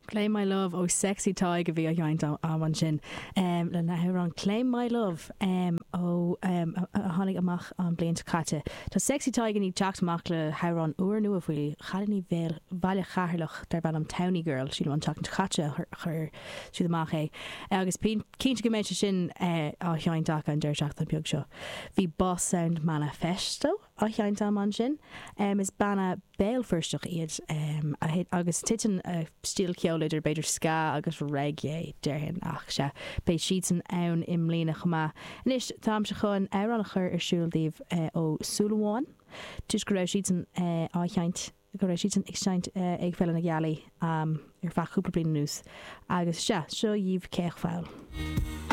Claim My Love ó Sexy Tadhg a bhí á sheinnt a'm ansin lena hamhrán Claim My Love ó a tháinig amach an bhliain seo caite. Tá Sexy Tadhg i ndiaidh teacht amach le hamhrán úrnua faoi chailíní Bhaile Cheatharlach darb ainm Townie Girl, sílim an tseachtain seo caite a chuir siad amach é agus cinnte go mbeidh sé sin á sheinnt acu an deireadh seachtaine beag seo. Bhí Boss Sound Manifesto á sheinnt a'm ansin. Is banna Béal Feirsteach iad agus titeann a stíl ceoil idir b'fhéidir ska agus reggae, déarfainn, ach sea, beidh siadsan ann i mbliana chomh maith. Anois, táimse chun amhrán a chur ar siúl daoibh ó Súil Amháin, toisc go raibh siadsan á sheinnt, go raibh siadsan ag seinnt ag Féile na Gealaí ar feadh cúpla bliain anuas agus sea, seo dhaoibh Caoch Pholl.